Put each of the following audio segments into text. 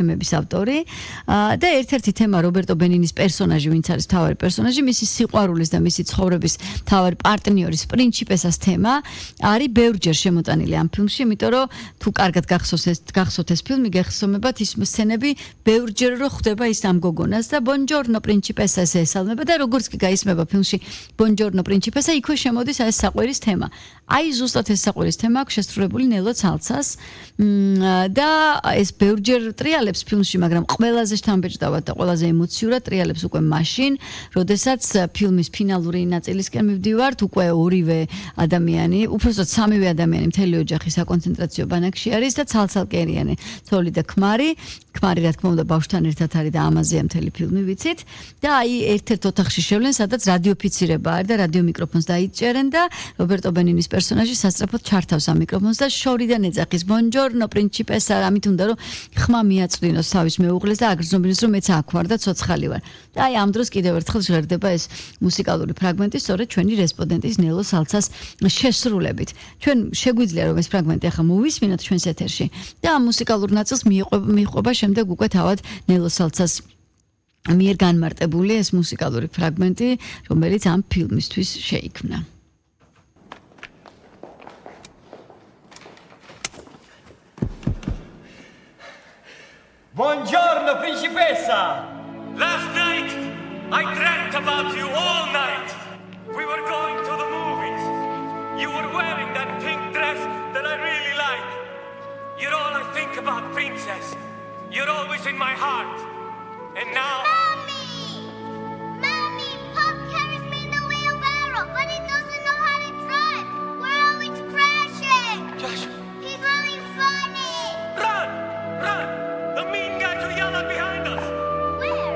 ფილმების ავტორი და ერთ-ერთი თემა რობერტო ბენინის პერსონაჟი, ვინც არის მთავარი პერსონაჟი, მისი სიყვარულის და მისი ცხოვრების მთავარი პარტნიორის პრინჩიპესას თემა არის ბევრჯერ შემოტანილი ამ ფილმში, იმიტომ რომ თუ კარგად გახსოვთ ეს ფილმი, გეხსოვებათ ის სცენები ბევრჯერ რო ხვდება ის ამ გოგონას და ბონჯორნო პრინჩიპესას ესალმება და როგორც კი გაისმება ფილმში ბონჯორნო პრინჩიპესა, იქვე შემოდის ეს საყვირის თემა. აი ზუსტად ეს საყვირის თემა აქვს შესრულებული ნელო ცალცას და ეს ბევრჯერ ტრიალებს ფილმში, მაგრამ ყველაზე შთამბეჭდავად და ყველაზე ემოციურად ტრიალებს უკვე მაშინ, როდესაც ფილმის ფინალური ნაწილისკენ მივდივართ, უკვე ორივე ადამიანი, უпростоოდ სამივე ადამიანი მთელი ოჯახი საკონცენტრაციო ბანაკში არის და ცალ-ცალკე ცოლი და ქმარი, რა თქმა უნდა ბავშვთან ერთად არის და ამაზეა მთელი ფილმი ვიცით და აი ერთ-ერთ ოთახში შევლენ, სადაც რადიოფიცირება არის და რადიო მიკროფონს დაიჭერენ და რობერტო ბენინის პერსონაჟი სასწრაფოდ ჩართავს ამ მიკროფონს და შორიდან ეძახის ბონჯორნო პრინჩიპესა, ამით უნდა რომ ხმა მიაწვდინოს თავის მეუღლეს და აგრძნობინოს რომ მეც აქ ვარ და ცოცხალი ვარ. და აი ამ დროს კიდევ ერთხელ ჟღერდება ეს მუსიკალური ფრაგმენტი სწორედ ჩვენი რესპონდენტის ნელო სალცას შესრულებით. ჩვენ შეგვიძლია რომ ეს ფრაგმენტი ახლა მოვისმინოთ ჩვენს ეთერში და ამ მუსიკალურ ნაწილს მიყვება შემდეგ უკვე თავად ნელო სალცას მიერ განმარტებული ეს მუსიკალური ფრაგმენტი, რომელიც ამ ფილმისთვის შეიქმნა. Buongiorno, principessa! Last night, I dreamt about you all night. We were going to the movies. You were wearing that pink dress that I really like. You're all I think about, princess. You're always in my heart. And now... Mommy! Mommy, Pop carries me in the wheelbarrow, but he doesn't know how to drive. We're always crashing. Joshua! He's really funny. Run! Run! The mean guys are yelling behind us! Where?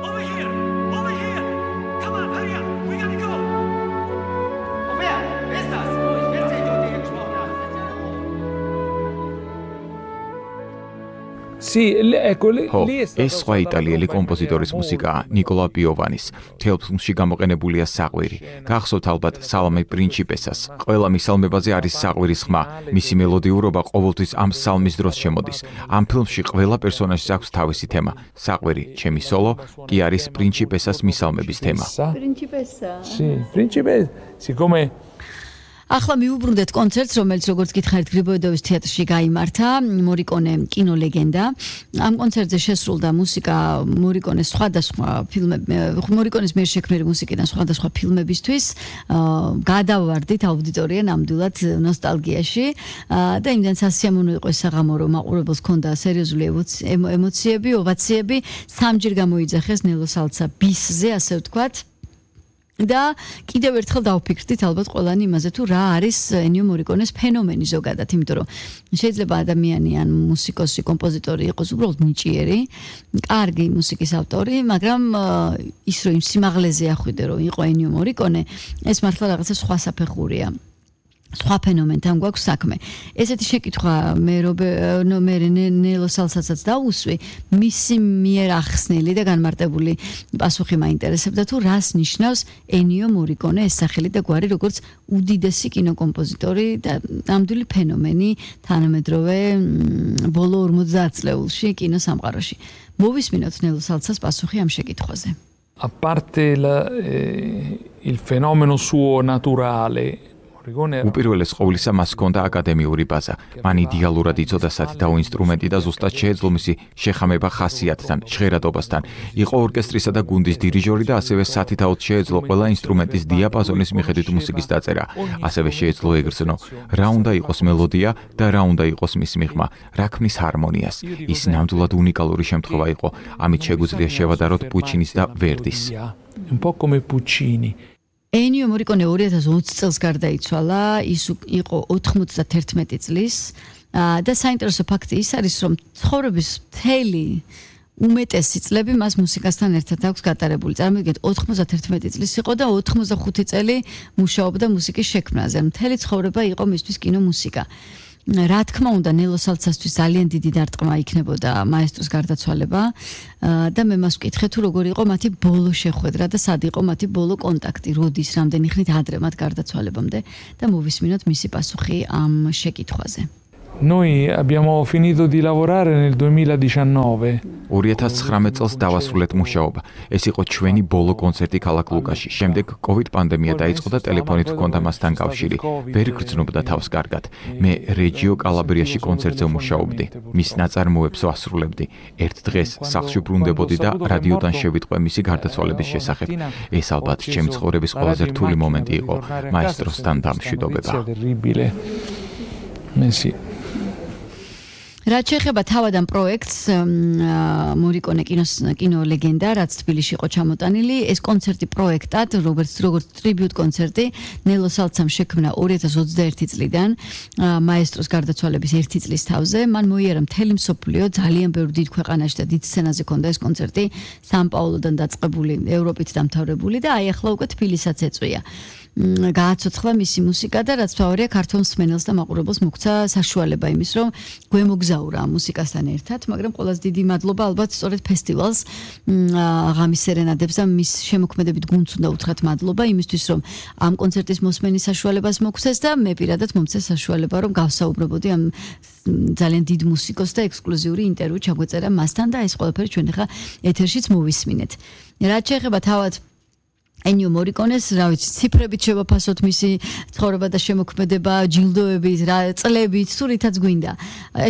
Over here! Over here! Come on, hurry up! We gotta go! Wer ist das? Jetzt seht ihr, die gesprochen haben. ეს სხვა იტალიელი კომპოზიტორის მუსიკაა ნიკოლა პიოვანის. მთელ ფილმში გამოყენებულია საყვირი. გახსოვთ ალბათ სალამე პრინჩიპესას. ყველა მისალმებაზე არის საყვირის ხმა. მისი მელოდიურობა ყოველთვის ამ სალმის დროს შემოდის. ამ ფილმში ყველა პერსონაჟს აქვს თავისი თემა. საყვირი, ჩემი სოლო კი არის პრინჩიპესას მისალმების თემა. პრინჩიპესა. Sì, principe, siccome ახლა მივუბრუნდეთ კონცერტს, რომელიც როგორც გითხარით გრიბოედოვის თეატრში გაიმართა, მორიკონე კინოლეგენდა. ამ კონცერტზე შესრულდა მუსიკა მორიკონეს სხვადასხვა მორიკონეს მიერ შექმნილი მუსიკიდან სხვადასხვა ფილმებისთვის. გადავარდით აუდიტორია ნამდვილად ნოსტალგიაში და იმდენ სასიამოვნო იყო ეს საღამო, რომ მაყურებელს ჰქონდა სერიოზული ემოციები, ოვაციები, სამჯერ გამოიძახეს ნელო სალცა ბისზე, ასე ვთქვათ. და კიდევ ერთხელ დავფიქრდით ალბათ ყველანი იმაზე თუ რა არის ენიო მორიკონეს ფენომენი ზოგადად, იმიტომ რომ შეიძლება ადამიანი ან მუსიკოსი, კომპოზიტორი იყოს უბრალოდ ნიჭიერი, კარგი მუსიკის ავტორი, მაგრამ ის რომ იმ სიმაღლეზე ახვიდე რომ იყო ენიო მორიკონე, ეს მართლა რაღაცა სხვა საფეხურია. სხვა ფენომენთან გვაქვს საქმე. ესეთი შეკითხვა მე ნელო სალცასაც დაუსვი, მისი მიერ ახსნილი და განმარტებული პასუხი მაინტერესებდა თუ რას ნიშნავს ენიო მორიკონე ეს სახელი და გვარი როგორც უდიდესი კინოკომპოზიტორი და ნამდვილი ფენომენი თანამედროვე ბოლო 50 წლეულში კინოსამყაროში. მოვისმინოთ ნელო სალცას პასუხი ამ შეკითხვაზე. A parte il fenomeno suo naturale უპირველეს ყოვლისა მას ჰქონდა აკადემიური ბაზა. მან იდეალურად იცოდა სათითაო ინსტრუმენტი და ზუსტად შეეძლო მისი შეხამება ხასიათთან, ჟღერადობასთან. იყო ორკესტრისა და გუნდის დირიჟორი და ასევე სათითაოდ შეეძლო ყველა ინსტრუმენტის დიაპაზონის მიხედვით მუსიკის დაწერა. ასევე შეეძლო ეგრძნო რა უნდა იყოს მელოდია და რა უნდა იყოს მის მიღმა, რა ქმნის ჰარმონიას. ის ნამდვილად უნიკალური შემთხვევა იყო. ამით შეგვიძლია შევადაროთ პუჩინის და ვერდის. Un po' come Puccini. ენიო მორიკონე 2020 წელს გარდაიცვალა, ის იყო 91 წლის და საინტერესო ფაქტი ის არის, რომ ცხოვრების მთელი უმეტესი წლები მას მუსიკასთან ერთად აქვს გატარებული. წარმოგიდგენთ 91 წლის იყო და 85 წელი მუშაობდა მუსიკის შექმნაზე. მთელი ცხოვრება იყო მისთვის კინომუსიკა. რა თქმა უნდა ნელო სალცასთვის ძალიან დიდი დარტყმა იქნებოდა მაესტროს გარდაცვალება და მე მას ვკითხე თუ როგორ იყო მათი ბოლო შეხვედრა და სად იყო მათი ბოლო კონტაქტი, როდის, რამდენი ხნით ადრე მათ გარდაცვალებამდე და მოვისმინოთ მისი პასუხი ამ შეკითხვაზე. Noi abbiamo finito di lavorare nel 2019. 2019 წელს დავასრულეთ მუშაობა. ეს იყო ჩვენი ბოლო კონცერტი ქალაქ ლუკაში. შემდეგ COVID პანდემია დაიწყო და ტელეფონით ჰქონდა მასთან კავშირი. ვერ გრძნობდა თავს კარგად. მე რეჯიო კალაბრიაში კონცერტზე ვმუშაობდი. მის ნაწარმოებს ვასრულებდი. ერთ დღეს სახლში ბრუნდებოდი და რადიოდან შევიტყვე მისი გარდაცვალების შესახებ. ეს ალბათ ჩემი ცხოვრების ყველაზე რთული მომენტი იყო მაესტროსთან დამშვიდობება. რაც შეეხება თავად პროექტს მორიკონე კინო ლეგენდა, რაც თბილისში იყო ჩამოტანილი, ეს კონცერტი პროექტად, როგორც ტრიბიუტ კონცერტი, ნელო სალცამ შექმნა 2021 წლიდან, მაესტროს გარდაცვალების 1 წლის თავზე, მან მოიარა მთელი მსოფლიო, ძალიან ბევრი დიდ ქვეყანაში და დიდ სცენაზე ქონდა ეს კონცერტი, სან-პაულოდან დაწყებული, ევროპით დამთავრებული და აი ახლა უკვე თბილისსაც ეწვია. გააცოცხლა მისი მუსიკა და რაც თავარია ქართულ მსმენელს და მაყურებელს მოგცა საშუალება იმის, რომ გვემოგზაურა მუსიკასთან ერთად, მაგრამ ყველაზე დიდი მადლობა ალბათ სწორედ ფესტივალს ღამის სერენადებს და მის შემოქმედებით გუნდს უნდა უთხრათ მადლობა იმისთვის, რომ ამ კონცერტის მოსმენის საშუალებას მოგცეს და მე პირადად მომცეს საშუალება, რომ გავსაუბრობოდი ამ ძალიან დიდ მუსიკოს და ექსკლუზიური ინტერვიუ ჩაგვეწერა მასთან და ეს ყველაფერი ჩვენ ახლა ეთერშიც მოვისმინეთ. რაც შეეხება თავად ენიო მორიკონეს, რა ვიცი, ციფრებით შევაფასოთ მისი ცხოვრება და შემოქმედება, ჯილდოებით, წლებით, თუ რითაც გვინდა.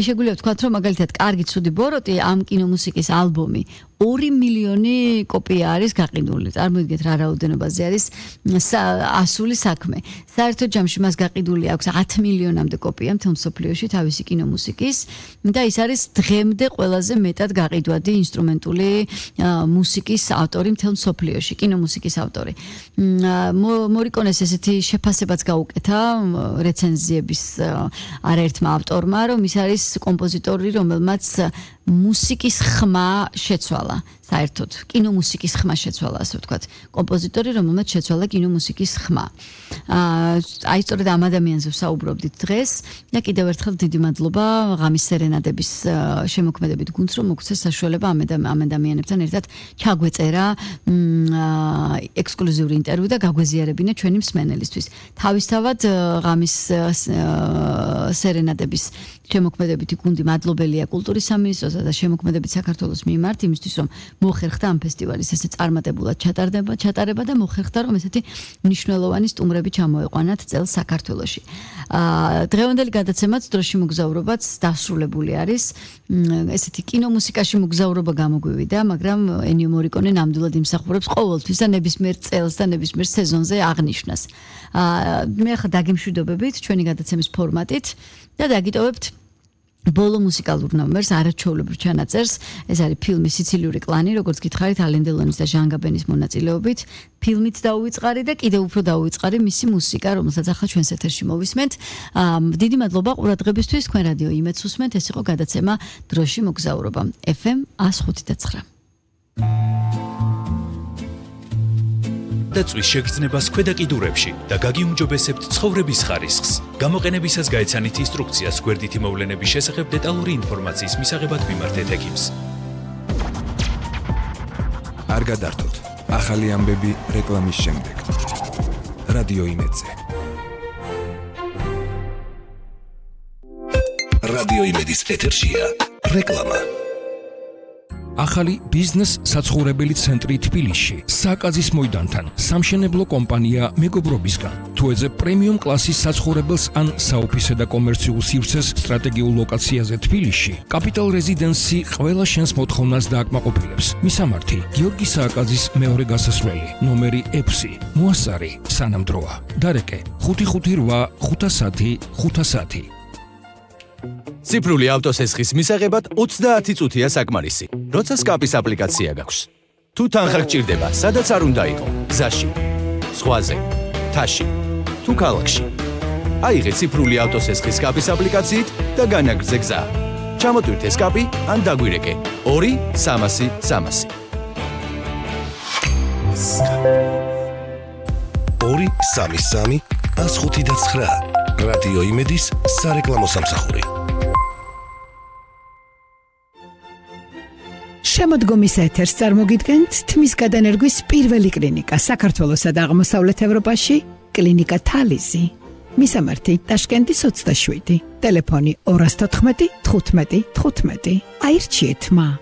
შეგვიძლია ვთქვათ, რომ მაგალითად, კარგი ცუდი ბოროტი ამ კინომუსიკის ალბომი 2 მილიონი კოპია არის გაყიდული. წარმოიდგინეთ რა რაოდენობაზე არის ასული საქმე. საერთო ჯამში მას გაყიდული აქვს 10 მილიონამდე კოპია მთელ მსოფლიოში თავისი კინომუსიკის და ის არის დღემდე ყველაზე მეტად გაყიდვადი ინსტრუმენტული მუსიკის ავტორი მთელ მსოფლიოში, კინომუსიკის ავტორი. მორიკონეს ესეთი შეფასებაც გაუკეთა რეცენზიების არაერთმა ავტორმა, რომ ის არის კომპოზიტორი, რომელმაც მუსიკის ხმა შეცვალა. საერთოდ კინომუსიკის ხმა შეცვალა, ასე ვთქვათ. კომპოზიტორი, რომელმაც შეცვალა კინომუსიკის ხმა. აი სწორედ ამ ადამიანზე ვსაუბრობდით დღეს და კიდევ ერთხელ დიდი მადლობა ღამის სერენადების შემოქმედებით გუნდს, რომ მოგცეს საშუალება ამ ადამიანებთან ერთად ჩაგვეწერა ექსკლუზიური ინტერვიუ და გაგვეზიარებინა ჩვენი მსმენელისთვის. თავისთავად ღამის სერენადების შემოქმედებითი გუნდი მადლობელია კულტურის სამინისტროსა და შემოქმედებით საქართველოს მიმართ იმისთვის, რომ მოხერხდა ამ ფესტივალის ესე წარმატებულად ჩატარება და მოხერხდა, რომ ესეთი მნიშვნელოვანი სტუმრები ჩამოეყვანათ წელს საქართველოში. დღევანდელი გადაცემაც დროში მოგზაურობაც დასრულებული არის. ესეთი კინომუსიკაში მოგზაურობა გამოგვივიდა, მაგრამ ენიო მორიკონე ნამდვილად იმსახურებს ყოველთვის და ნებისმიერ წელს და ნებისმიერ სეზონზე აღნიშვნას. მე ახლა დაგემშვიდობებით ჩვენი გადაცემის ფორმატით და დაგიტოვებთ ბოლო მუსიკალურ ნომერს, არაჩვეულებრივ ჩანაწერს. ეს არის ფილმი სიცილიური კლანი, როგორც გითხარით, ალენ დელონის და ჟან გაბენის მონაწილეობით. ფილმით დაუვიწყარი და კიდევ უფრო დაუვიწყარი მისი მუსიკა, რომელსაც ახლა ჩვენს ეთერში მოვისმენთ. დიდი მადლობა ყურადღებისთვის. თქვენ რადიო იმედს უსმენთ. ეს იყო გადაცემა დროში მოგზაურობა. FM 105.9. დაწვის შეგრძნებას ქვედა კიდურებში და გაგიუმჯობესებთ ცხოვრების ხარისხს. გამოყენებისას გაეცანით ინსტრუქციას გვერდითი მოვლენების შესახებ დეტალური ინფორმაციის მისაღებად მიმართეთ ექიმს. არ გადართოთ. ახალი ამბები რეკლამის შემდეგ. რადიო იმედზე. რადიო იმედის ეთერშია რეკლამა. ახალი ბიზნეს საცხოვრებელი ცენტრი თბილისში, სააკაძის მოედანთან, სამშენებლო კომპანია მეგობრობისგან. თუ ეძებ პრემიუმ კლასის საცხოვრებელს ან საოფისე და კომერციულ სივრცეს სტრატეგიულ ლოკაციაზე თბილისში, კაპიტალ რეზიდენსი ყველა შენს მოთხოვნას დააკმაყოფილებს. მისამართი: გიორგი სააკაძის მეორე გასასვლელი, ნომერი 6, მოასწარი, სანამ დროა. დარეკე: 558 510 510. ციფრული ავტოსესხის მისაღებად 30 წუთია საკმარისი. როცა სკაპის აპლიკაცია გაქვს. თუ თანხა გჭირდება, სადაც არ უნდა იყო, გზაში, ზღვაზე, მთაში, თუ ქალაქში. აიღე ციფრული ავტოსესხის სკაპის აპლიკაციით და განაგრძე გზა. ჩამოტვირთე სკაპი ან დაგვირეკე 2-300 300. 2-3-3 105.9. რადიო იმედის სარეკლამო სამსახური. შემოდგომის ეთერს წარმოგიდგენთ თმის გადანერგვის პირველი კლინიკა საქართველოსა და აღმოსავლეთ ევროპაში, კლინიკა თალიზი. მისამართი ტაშკენტის 27, ტელეფონი 214 15 15. აირჩიეთ მა.